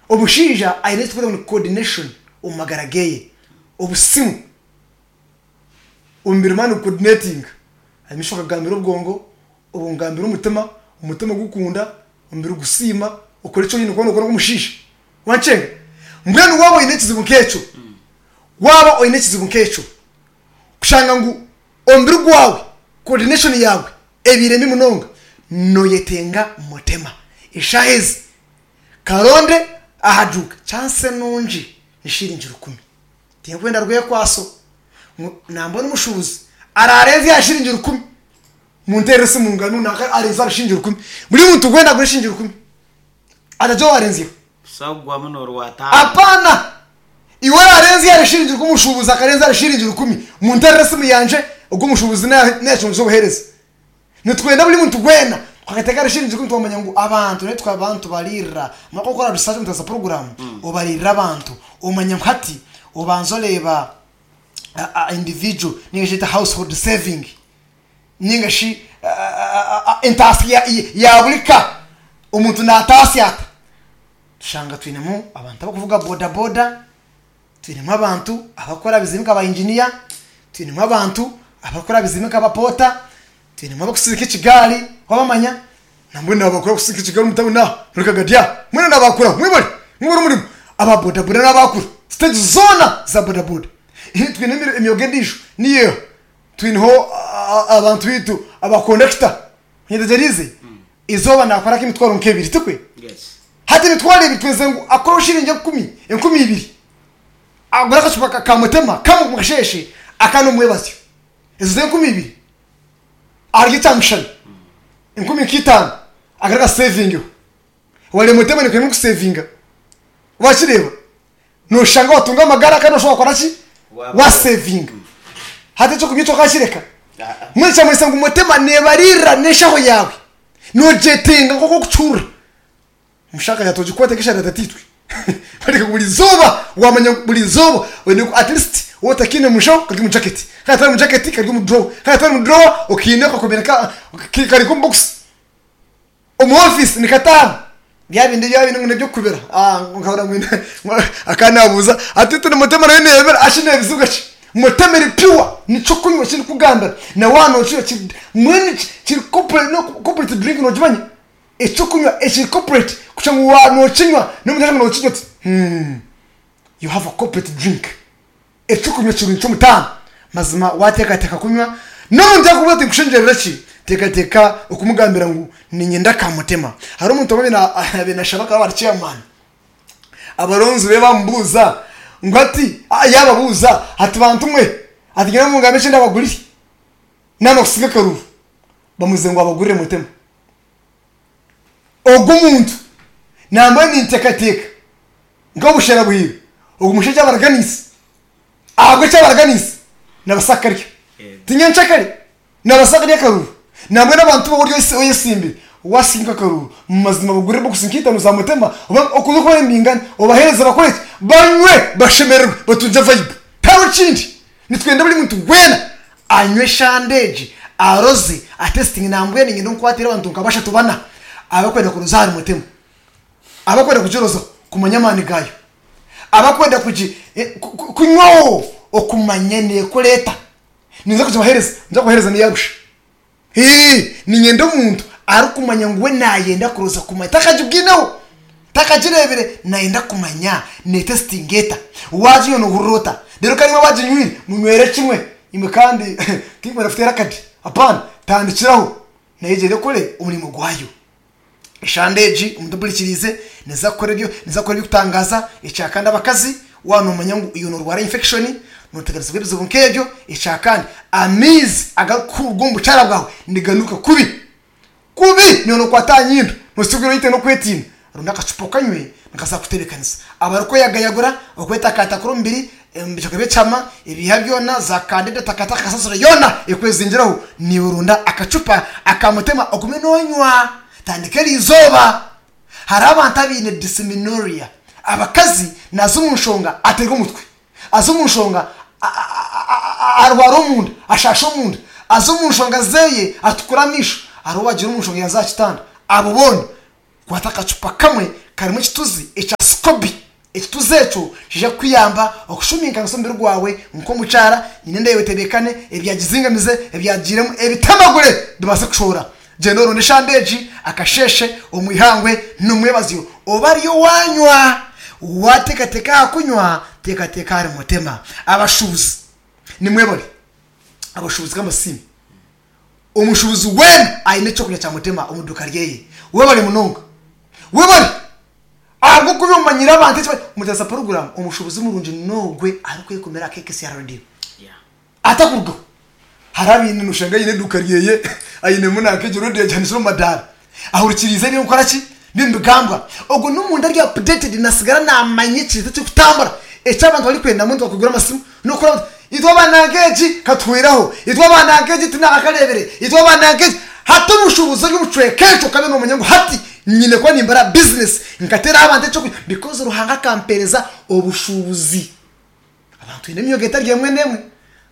Omushaija aine eki turikweta ngu ni coordination omu magara geye, obusimu, omubiri mani gucoordinatinga, amaisho gakagambira obwongo, obwongo bugambira omutima, omutima gukunda, omubiri gusiima, okora eki oine kuba nokora nk'omushaija. Wankyenga? Mbwenu waaba oine ekizibu nk'ekyo, waaba oine ekizibu nk'ekyo, kushanga ngu omubiri gwawe, coordination yaawe ebaire mbi munonga, noyetenga mutema. Eshaaha ezi Karonde aha duuka chance nungi ni shiringi rukumi. Tinkwenda rwekwaso ngu nambona omushubuzi ararenze aha shiringi rukumi munterere esimu nganu nanka arenze aha shiringi rukumi. Buri muntu weena agure shiringi rukumi atagira owarenzyeho. Busaho kugwamu norwataano. Apana! Iwe orarenze ahari shiringi rukumi omushubuzi akarenza ahari shiringi rukumi munterere esimu yangye ogwo omushubuzi nayacunguza obuhereza. Nitwenda buri muntu weena twakateeka ahari shiringi rukumi twamanya ngu abantu naitwe abantu tubariirira. Omara kukora research omu za puroguraamu obariirira abantu omanya ngu hati obanza oreeba individual ninga shi eki household saving ninga shi entaasya ya buri ka omuntu naataasya ata. Tushanga twinemu abantu abarikuvuga boda boda, Twinemu abantu abarikukora aha bizimbe nka ba inginiya, twinemu abantu abarikukora aha bizimbe nka abapoota, twinemu abarikutsindika ekigaari wabamanya, nambwenu n'abakuru abarikutsindika ekigaari omu tawuni aha omuri Kagadi aha mbwenu n'abakuru abo mwebare mwebare omurimo. Aba bodaboda n'abakuru siteegi zoona za bodaboda. Twine emyoga endiijo niyo eha, twineho abantu baitu aba kondakita onyetegyereize? Eizooba naakora nk'emitwaro nk'ebiri tikwe? Hati emitwaro ebiri twenzire ngu akoreho shiringi enkumi, 2000 agure akacupa ka mutema kamwe omu kasheeshe akandi omu mwebazyo. Ezo z'enkumi ibiri arye ekyamushana enkumi nk'itaano agare akasevingeho. Wareeba mutema nekwenda kusevinga wakireeba noshanga watunga amagara kandi noshanga wakora ki? Wasevinga. Hati ekyokunywa ekyo okakireka. Mbwenu kyamanyisa ngu mutema nebaririra n'eshaho yaawe nogyetenga nk'oku orikucurura. Omushakazi ati ogikwate nk'eshara ya tataitwe. Bareka ngu buri izooba wamanya ngu buri izooba oine ku at least waaba otakiine omu nshaho kari omu jaketi, kandi atari omu jaketi kari omu drawer, kandi atari omu drawer okiine okakomire ka kari nk'omu bokisi. Omu ofiisi nikataahamu bya bindi bya bindi ngu n'eby'okukubira nkahurira ngu akaba naabuuza ati itwe Mutema nayo neebira ashi neebizibwa ki? Mutema eri pure niky'okunywa eki ndikugambira na waaba nookinywa kiri mbwenu kiri corporate drink noogimanya? Eky'okunywa ekiri corporate kugira ngu waaba nookinywa n'omuntu ashanga nookinywa ati hmm you have a corporate drink. Eky'okunywa kirungi ky'omutaano. Mazima waateekateeka kunywa n'omuntu yaakubuuza ati nkushengyerere ki? Teekateeka okumugambira ngu niinyenda ka mutema. Hariho omuntu omwe abaire naashaba akaba ari chairman, abaronzi be baamubuuza ngu hati yaababuuza ati bantu mwe ati nyine mungambe eki ndabagurire naaba kusinga akaruuru bamubuuze ngu abagurire mutema. Ogwo muntu nambwenu ninteekateeka nk'obushera bwire ogu mushaija abaraganiise ahabw'eki abaraganiise nabaasa kukarya ti nyenkyakare nabaasa kurya akaruru nambwenu abantu boona ori oyesimbire wasinga akaruru mumazima bagurire bokisi nk'eitano za mutema oba okuza okuba nibingana obahereze bakore ki banywe bashemererwe batungye vibe tihariho ekindi nitwenda buri muntu weena anywe eshande egi aroze atesitinge nambwenu niinyenda nkwatire abantu nka bashatu bana abarikwenda kuroza ahari mutema. Abakwenda kugirozaho kumanya amaani gaayo, abakwenda kunywaho okumanya neekora eta. Ninza kugibaheereza, ninza kubaheereza n'eya busha. Hee, niinyenda omuntu arikumanya ngu we naayenda kuroza kumanya, takagibwineho, takagireebire, naayenda kumanya neetesitinga eta. Waaginywa noohurira ota? Reero kandi imwe abaginywire, munywere kimwe. Imwe kandi tinkwenda kuteera akadi, hapaana, tandikiraho, nayo egyende ekore omurimo gwayo. Eshande egi omuntu ompurikiriize neza kukora ebyo neza kukora eby'okutangaaza. Ekyakandi abakazi waaba noomanya ngu iwe noorwara infection nooteganisibwa ebizibu nk'ebyo. Ekyakandi amaizi agarikuruga omu bukyara bwawe niganuuka kubi kubi naiwe nookwata aha nyindo noosigura oine n'okwetiina. Ronda akacupa okanywe nikaza kukutebeekanisa. Abarikweyagayagura, okwetakaatakura omubiri, ebicweka by'ekihama, ebiiha byona, za kandida, takataka, kasasiro yoona ekwezingiraho, naiwe ronda akacupa aka mutema ogume noonywa. Tandika eri izooba. Hariho abantu abaine dysmenorrhea. Abakazi naaza omu nshonga ateerwa omutwe, aza omu nshonga arwara omunda, ashaasha omunda, aza omu nshonga zeeye atukura amaisho, hariho owaagira omu nshonga yaaza aha kitanda. Abo boona kwata akacupa kamwe karimu ekituzi ekya. SCOBY. Ekituzi ekyo nikiija kukuyamba okushuminkanisa omubiri gwawe nk'omukyara, nyine enda yaawe etebeekane, ebyagizingamize, ebyagiiremu ebitemagure bibaase kushohora. Gyenda oronde eshamba egi akasheeshe, omu ihangwe n'omwebazyo. Oba ariyo waanywa. Waateekateeka aha kunywa, teekateeka ahari Mutema. Abashuubuzi nimwebare. Abashuubuzi k'amasimu. Omushuubuzi weena aine eky'okunywa kya Mutema omu duuka ryeye. Webare munonga. Webare! Ahabw'okuba omanyire abantu eki bari. Mutasa puroguraamu, omushuubuzi murungi n'ogwe arikwekumira aha KKCR Radio. Atakurugaho. Hariho abaine noshanga aine eduuka ryeye ainemu nanka egyo radio agihanikire omu madaara. Ahurikiriize ebirikukora ki? Nibigambwa. Ogwo n'omuntu ari updated nasigara namanya ekintu ekirikutambura eki abantu barikwenda mbwenu tibakugura amasimu n'okukora bati itwe aba nanka egi katuhweraho, itwe aba nanka egi tinakakareebire, itwe aba nanka egi. Hati omushuubuzi ori omu kicweka ekyo okabe nomanya ngu hati nyine kuba nimbara bizinesi nkateeraho abantu ekyokurya because Ruhanga akampeereza obushuubuzi. Abantu twine emyoga etari emwe n'emwe.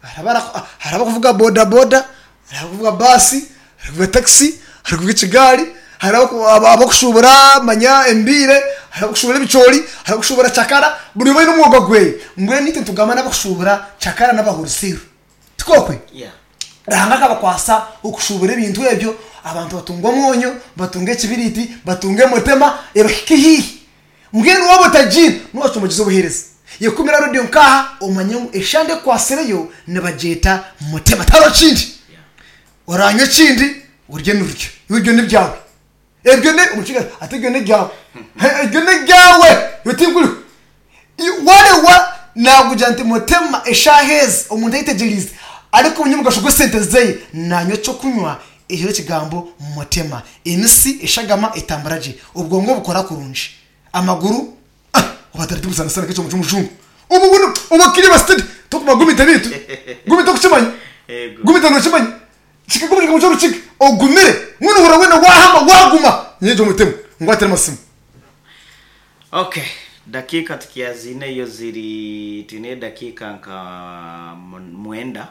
Hariho hariho abarikuvuga bodaboda, hariho abarikuvuga baasi, hariho abarikuvuga takisi, hariho abarikuvuga ekigaari, hariho abarikushubura manya embiire, hariho abarikushubura ebicoori, hariho abarikushubura cakara, buri omwe aine omwoga gweye. Mbwenu itwe nitugamba n'abarikushubura cakara n'abahuriseero. Tikwo okwe? Ruhanga akabakwasa okushubura ebintu ebyo, abantu batunga omwonyo, batunga ekibiriiti, batunga emotema, ebahike haihi. Mbwenu waaba otagiine, noocumbagiza obuheereza. Yekumira rediyo nk'aha omanye ngu eshande ekwatsireyo nibagyeta Mutema. Tihariho kindi. Oraanywa ekindi, orye nirurya. Iwe ebyo n'ebyawe. Ebyo ni, omukiga ati ebyo n'ebyawe. Ebyo n'ebyawe. Iwe tinkuriho. Waareeba naakugira nti Mutema eshaaha ezi omuntu ayetegyereize arikumanya omugasho gw'esente zeye, naanywa eky'okunywa ekiriho ekigambo Mutema. Emisi, eshagama etambura gye, obwongo bukora kurungi, amaguru ah oba tari sana sana nk'ekyomo ky'omujungu. Obu bunu oba kiri ba steady tokuma gumite bitu gumite okukimanya Ego. gumite nokimanya kikaguma kikamu ky'orukiga ogumire mbwenu ohurira weena wahama waguma nyeje omutima ngwatire amasimu. Okay, dakiika tukyaziineyo ziri twineyo edakiika nka mwenda.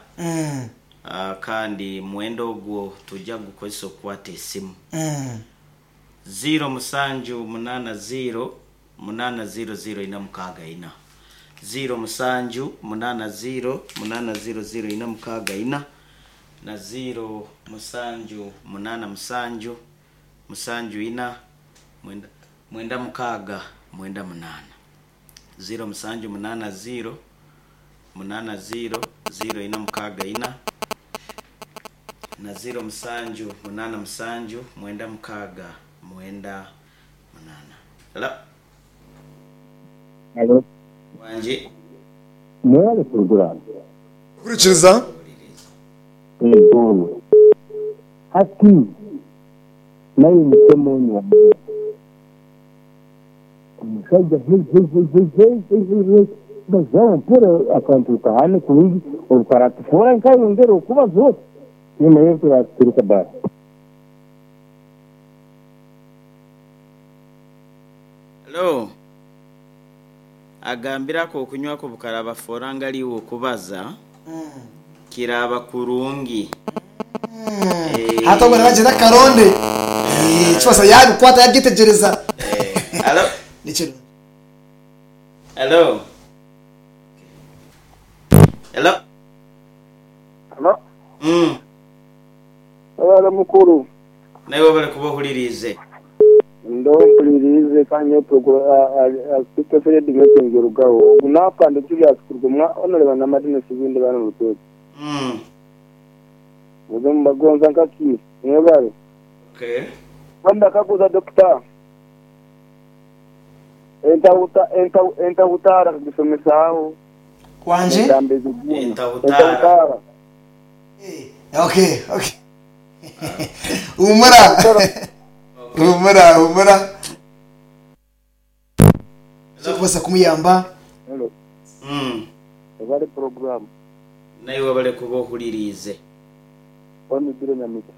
Kandi mwenda ogwo twija kugukozesa okukwata esimu. Ziiro musanju munaana ziiro munaana ziiro ziiro ina mukaaga ina. Ziiro musanju munaana ziiro munaana ziiro ziiro ina mukaaga ina na ziiro musanju munaana musanju musanju ina mwenda mwenda mukaaga mwenda munaana. Ziiro musanju munaana ziiro munaana ziiro ziiro ina mukaaga ina na ziiro musanju munaana musanju mwenda mukaaga mwenda munaana. Hello. Halo. Wangi. Mwebale puroguraamu. Hurikiriza. Ego. Hati naiwe mutema onywa. Omushaija hehehehehehehe bazaho mpora akantu kahane kurungi obukaratufoora nkayongera okubaza oti nimanya turaturuka basi. Hello. Agambire ak'okunywa ko bukarabafoora ngari iwe okubaza kiraba kurungi. Hati obwo nibagyenda akaronde ekibaasa yabikwata yabyetegyereza. Hello. Nikirungi. Hello. Hello. Hello. Webale mukuru. Naiwe webale kuba ohuririize. Ndo mpuririize kandi nyowe Fred Messenger Rugaho. Ogu naafande Julius kuruga omwa Honorable Namadina Sibindi bana Rutoto. Muze mubagonza nka ki? Mwebale. Okay. Wenda kaguza doctor. Entahuta entahutara kagisomesaaho. Wangi? Entambo eziguuna. Entahutara. Entahutara. Okay, okay. Humura. Humura, humura. Ekirikubaasa kumuyamba. Hello. Webale program. Naiwe webale kuba ohuririize. Wama Ibiro Nyamita.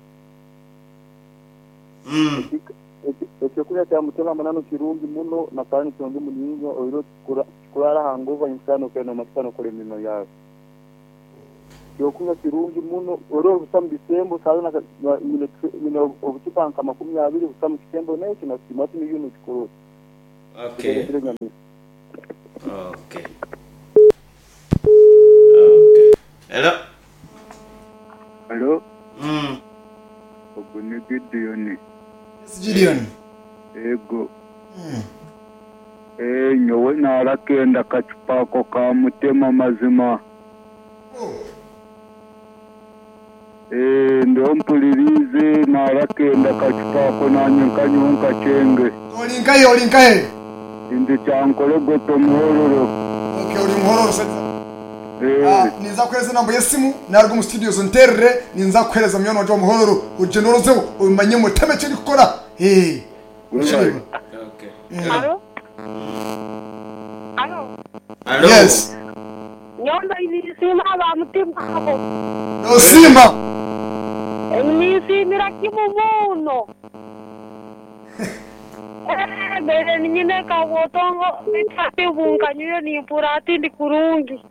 Ekyokurya kya Mutema Munanu kirungi muno na kandi nikirungi muninga oihireho tikikuraara aha ngova nyomushana okaire nomanyisa nokora emirimo yaawe. Ekyokunywa kirungi muno oihireho busa omu bisembo shaaha yoona nyine obucupa nka 20 busa omu kisembo n'ekyo nasiima hati niiwe nokikora ota. Okay. Okay. Okay. Hello. Halo, Mm. ogu ni Gideon. Yes Gideon. Ego. Eeh nyowe narakenda akacupa ako ka mutema mazima. Eeh ndiho mpuririize narakenda akacupa ako nanye nkanyweho nkakyenge. Ori nkahe ori nkahe? Ndi Kyankorogoto Muhororo. Okay ori Muhororo saiza. Eeh. Ninza kuhereza enamba y'esimu naruga omu studios onterere ninza kuhereza munywani wangye wa Muhororo ogyende orozeho omanye mutema eki erikukora. Eeh. Webare. Okay. Alo? Alo? Alo. Yes. Nyowe mbaire ninsiima aba mutima abo. Nosiima. Ninsiimira kimwe muno. Eeh mbaire niinyine kabwotongo beitu hati obu nkanywire nimpurra hati ndi kurungi.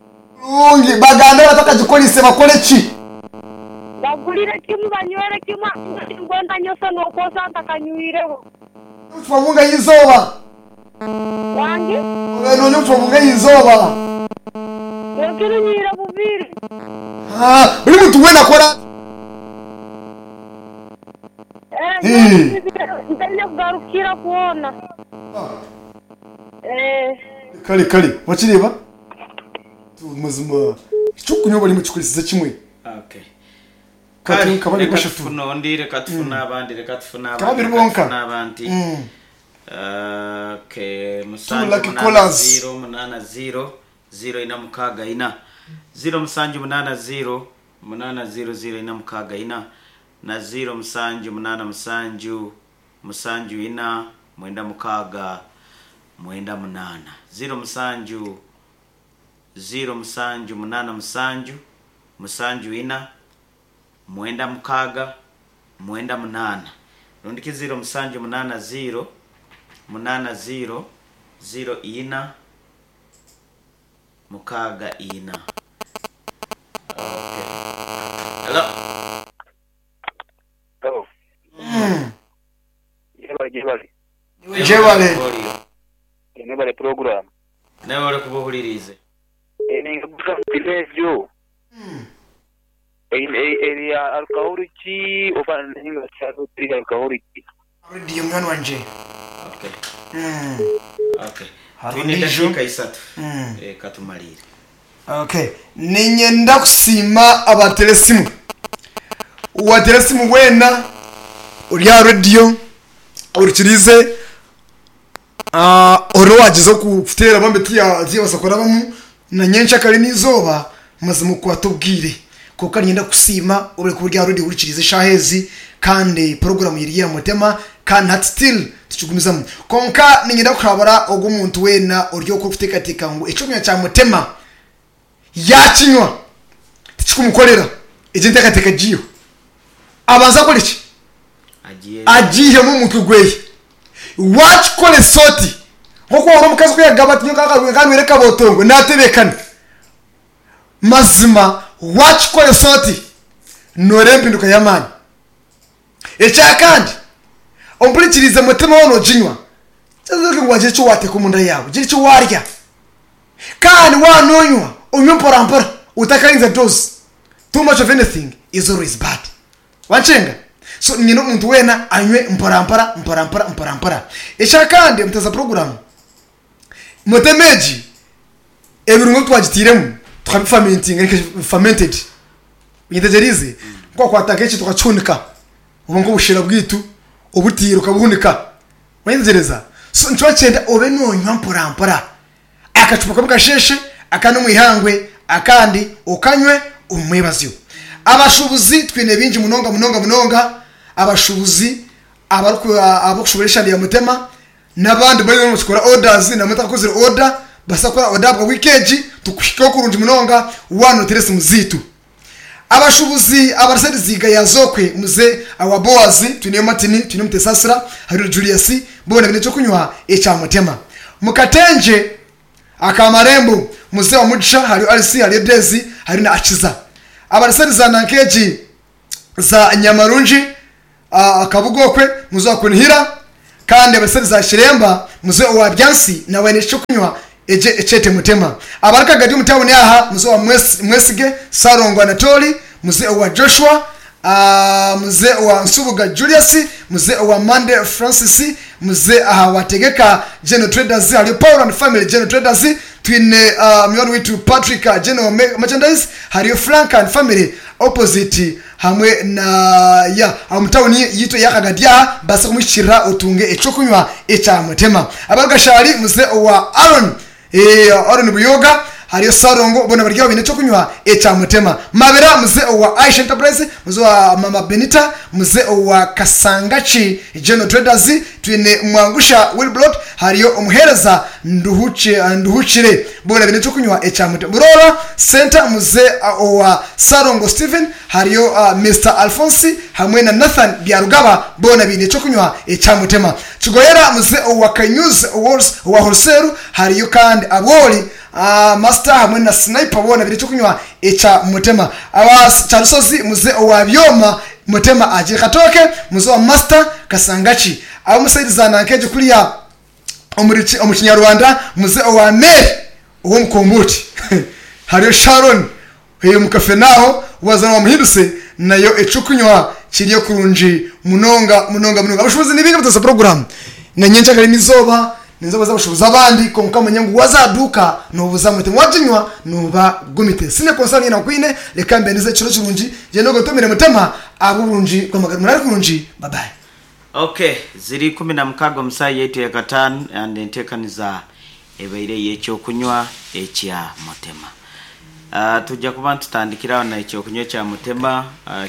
Kurungi. Bagambe abatakagikoreise bakore ki? Bagurire kimwe banywere kimwe ahabw'okuba tinkwenda nyosa n'okwosa ntakanywireho. Obucupa bungahi eizooba? Wangi? Obaire nonywa obucupa bungahi eizooba? Bwekiro nywire bubiri. Buri muntu weena akore atyo. Eeh, ntaine kugarukira kwona. Eeh. Kare kare wakireeba? Mazima ekyokunywa bari mukikoresize kimwe. Okay. Kati Kale, nka babiri reka bashatu. tufune ondi, reka tufune abandi, reka tufune Nka abandi, babiri reka bonka. tufune abandi. Okay, Two musanju lucky munaana callers. ziro munaana ziro ziro ina mukaaga ina ziro musanju munaana ziro munaana ziro ziro ina mukaaga ina na ziro musanju munaana musanju musanju ina mwenda mukaaga mwenda munaana ziro musanju ziro musanju munaana musanju musanju ina mwenda mukaaga mwenda munaana rundiki ziro musanju munaana ziro munaana ziro ziro ina mukaaga ina. Okay. Hello. Hello. Yebale gyebale. Gyebale. Mwebale program. Nawe olikuba ohuririize. Ninkaguza ngu egyo eri ya alcoholic oba ninga teri alcoholic. Radio munywani wangye. Okay. Okay. Hariho Twine endiijo. edakiika isatu. Eh, katumariire. Okay. Niinyenda kusiima abateera esimu. Waateera esimu weena ori aha rediyo orikiriize ori owaagyeza kuteera bambi tiyabaasa kurabamu na nyenkyakare n'eizooba mazima okwata obwire. Kwonka niinyenda kukusiima ori kuba ori aha rediyo ohurikiriize eshaaha ezi kandi puroguraamu eri aha mutima kandi hati still tukigumizamu. Kwonka niinyenda kuhabura ogwo omuntu weena ori okwo orikuteekateeka ngu eky'okunywa kya mutima yaakinywa tikikumukorera, egyo enteekateeka egiiheho. Abanze akore ki? Agiihemu omu mutwe gweye. Waakikoresa oti, nk'oku wahurira omukazi ku yaagamba ati nyowe ka nywere kabotongo, naatebeekana. Mazima waakikoresa oti, nooreeba empinduka y'amaani. Ekyakandi, ompurikirize mutima waaba nooginywa, kyaza ngu waagira eki waateeka omunda yaawe, gira eki waarya. Kandi waaba noonywa, onywe mporampora, otakarenza dose. Too much of anything is always bad. Wankyenga? So niinyenda omuntu weena anywe mporampora, mporampora, mporampora. Ekyakandi, muteza puroguraamu, mutema egi, ebirungo ebi twagitairemu tukabifermentinga, eka fermented. Onyetegyereize? Ku wakwata nk'ekintu okakihunika, oba nk'obushera bwaitu obutiire okabuhunika. Wayetegyereza? So nikyo kyenda obe nonywa mpora mpora. Akacupa kamwe kasheeshe, akandi omu ihangwe, akandi okanywe omu mwebazyo. Abashuubuzi twine bingi munonga munonga munonga, abashuubuzi abarikushubura eshande ya Mutema n'abandi bariyo nibakikora orders namwe mutakakozire order, baasa kukora order ahabwa wiiki egi tukuhikeho kurungi munonga waaba noteera esimu zaitu. Abashubuzi abari Sediziga ya Zokwe muze awa Boazi, twineyo Martin, twineyo Mutesasira, hariyo Julius, boona baine ekyokunywa ekya Mutema. Mu Katengye aka Marembo muze owa Mugisha, hariyo Alice, hariyo Daisy, hariyo na Akiza. Abari sedi za Nankeegi za Nyamarungi, Kabugokwe, muze owa Kunihira. Kandi abaseri za Kiremba muze owa Byansi nawe aine ekyokunywa egye ekyete Mutema. Abari Kagadi omu tawuni aha muze owa Mwesige Ssalongo Anatoli, muze owa Joshua, muze owa Nsubuga Julius, muze owa Mande Francis, muze aha wa Tegeka General Traders, hariyo Paul and Family General Traders, twine munywani waitu Patrick General Merchandise, hariyo Frank and Family Opposite hamwe na ya omu tawuni yaitu eya Kagadi aha, baase kumuhikirira otunge ekyokunywa ekya Mutema. Abari Gashari muze owa Aaron Aaron Buyoga, hariyo Ssalongo boona bari aho baine ekyokunywa ekya Mutema. Mabira muze owa Aisha Enterprise, muze owa Mama Benita, muze owa Kasangaki General Traders, twine Mwangusha Wilbrod, hariyo omuheereza Nduhukire boona baine ekyokunywa ekya Mutema. Buroora Centre muze owa Ssalongo Steven, hariyo Mister Alphonse hamwe na Nathan Byarugaba boona baine ekyokunywa ekya Mutema. Kigoyera muze owa Kanyuzi owa Wholeseru, hariyo kandi Abwoli, Master hamwe na Sniper boona baine ekyokunywa ekya Mutema. Aba Kyarusozi muze owa Byoma Mutema agire Katooke muze owa Master Kasangaki. Ab'omu sayidi za Nankegyo kuriya omu Kinyarwanda muze owa Mary ow'omukombuuti. Hariyo Sharon omu Kafenaaho waza wamuhinduse nayo ekyokunywa kiriyo kurungi munonga munonga munonga. Abashubuzi ni baingi abataza puroguramu na nyencakare n'eizooba ninza kubaza abashubuzi abandi kwonka manya ngu waza aha duuka nobuza Mutema waginywa noba gumite. Sine concern yoona nkwine reka mbendize ekiro kirungi gyenda ogotomere Mutema ahabw'oburungi bw'amagara. Muraare kurungi bye bye. Ok, ziri 16 omu saaha yaitu ya kataano and enteekaniza ebaire ey'ekyokunywa ekya Mutema. Twija kuba nitutandikira aho na ekyokunywa ekya Mutema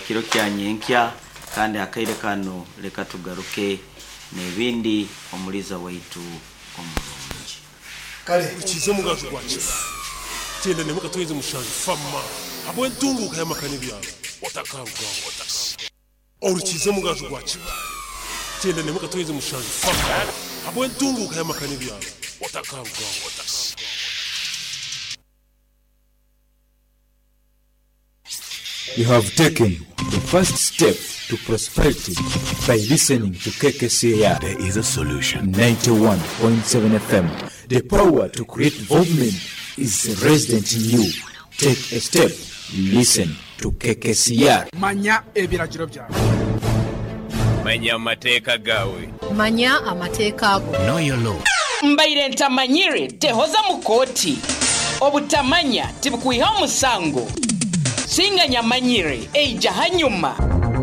kiro kya nyenkya kandi akaire kanu reka tugaruke n'ebindi omuriisa waitu omurungi. Kare. Rukiza omugaju gwa Kibaale. Kyenda n'emwe katwezi mushanju fama habw'entunguuka y'amaka n'ebyaro otakarugaho. Orukiza omugaju gwa Kibaale. Kyenda n'emwe katwezi mushanju fama habw'entunguuka y'amaka n'ebyaro otakarugaho. You have taken the first step to prosperity by listening to KKCR. There is a solution. 91.7 FM. The power to create development is resident in you. Take a step. Listen to KKCR. Manya ebiragiro byawe. Manya amateeka gaawe. Manya amateeka go. Know your law. Mbaire ntamanyire tehoza mu kooti. Obutamanya tibukwihaho musango. Singa nyamanyire eija hanyuma.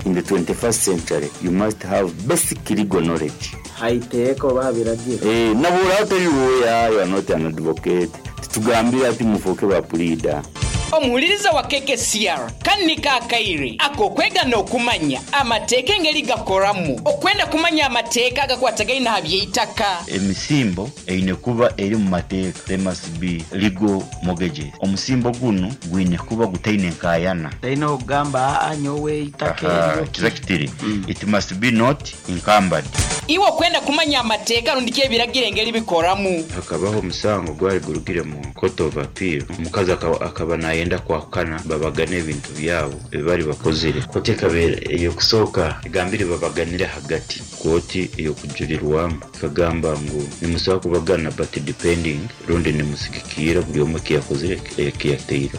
In the 21st century, you must have basic legal knowledge. Aha iteeka oba aha biragiro. Eh, nabura otari lawyer, you are not an advocate. Titugambire ati mufooke ba puriida. Omuhuliriza wa KKCR, kanu niko akaire ak'okwega n'okumanya amateeka engeri gakoramu. Okwenda kumanya amateeka agakwatagaine aha by'eitaka. Emisimbo eine kuba eri omu mateeka, there must be legal mortgages. Omusimbo gunu gwine kuba gutaine nkaayana. Taine okugamba aa nyowe eitaka Aha, eryo. kiza kitiri, it must be not encumbered. Iwe okwenda kumanya amateeka rundi ki ebiragiro engeri bikoramu. Hakabaho omusango gwari gurugire mu court of appeal, omukazi akaba nayenda kwahukana babagane ebintu byabo ebi bari bakozire. Kooti ekabeera ey'okusooka egambire babaganire ahagati. Kooti ey'okujurirwamu ekagamba ngu nimusobola kubagana but depending rundi nimusigikiira buri omwe eki yakozire eki yateireho.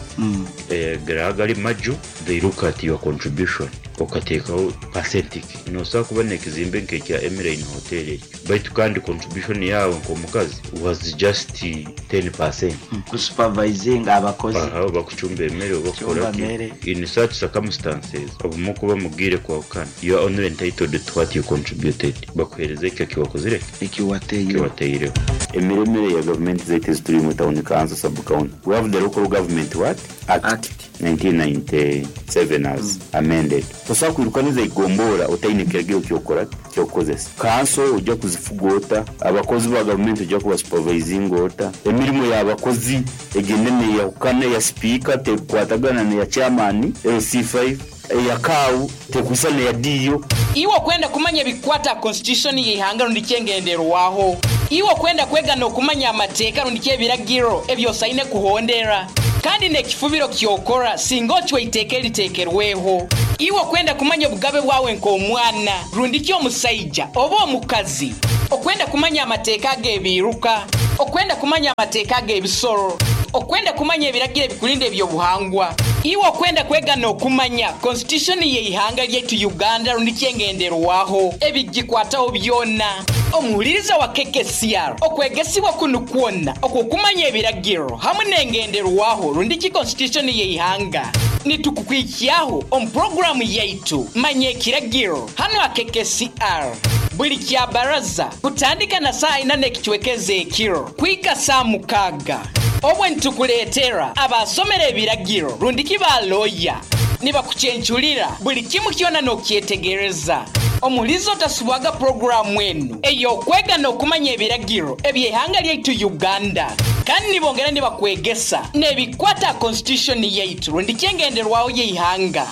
Garaba gari maju, they look at your contribution okateekaho percent ki. Nosobola kuba n'ekizimbe nk'ekya Emeline Hotel ekyo baitu kandi contribution yaawe nk'omukazi was just 10%. Kusupervisinga abakozi. Aha, oba kucumba emere oba kukora Kucumba ki. mere. In such circumstances, obumwe okuba mugiire kwahukana, you are only entitled to what you contributed. Bakuheereza ekyo eki wakozire ki? Eki wateireho. Eki wateireho. Emiremere ya gavumenti zaitu ezi turimu, town council, sub county, we have the local government what? Act 1997 as amended. Tosobola kwiruka neza igombora otaine kiragiro kyokora ki? Kyokukozesa. Kanso oija kuzifuga ota? Abakozi ba gavumenti oija kuba supervisinga ota? Emirimo y'abakozi egyenda neyahukana, eya sipiika tekukwatagana neya chairman, LC5, eya CAO tekwisana neya DO. Iwe okwenda kumanya ebikukwata aha Constitution y'eihanga rundi ki engenderwaho. Iwe okwenda kwega n'okumanya amateeka rundi ki ebiragiro ebi osaine kuhondera. Kandi n'ekifubiro ky'okora singa ocwa eiteeka eriteekerweho. Iwe okwenda kumanya obugabe bwawe nk'omwana rundi ki omusaija oba omukazi. Okwenda kumanya amateeka ag'ebiiruka? Okwenda kumanya amateeka ag'ebisolo? Okwenda kumanya ebiragiro ebikurinda eby'obuhangwa? Iwe okwenda kwega n'okumanya Constitution y'eihanga lyaitu Uganda rundi ki engenderwaho, ebigikwataho byona? Omuhuliriza wa KKCR, okwegesibwa kunu kwona okw'okumanya ebiragiro hamwe n'engenderwaho rundi ki Constitution y'eihanga, nitukukwikyaho omu puroguramu yaitu Manya Ekiragiro hanu aha KKCR buri Kyabaraza kutandika na saaha ina n'ekicweka ez'ekiro kuhika saaha mukaaga. Obwe nitukureetera abaasomera ebiragiro rundi ki ba looya nibakucencurira buri kimwe kyona n'okukyetegereza. Omuhuriza otasubwaga puroguraamu enu ey'okwega n'okumanya ebiragiro eby'eihanga lyaitu Uganda kandi nibongera nibakwegesa n'ebikwata aha Constitution yaitu rundi ki engenderwaho y'eihanga.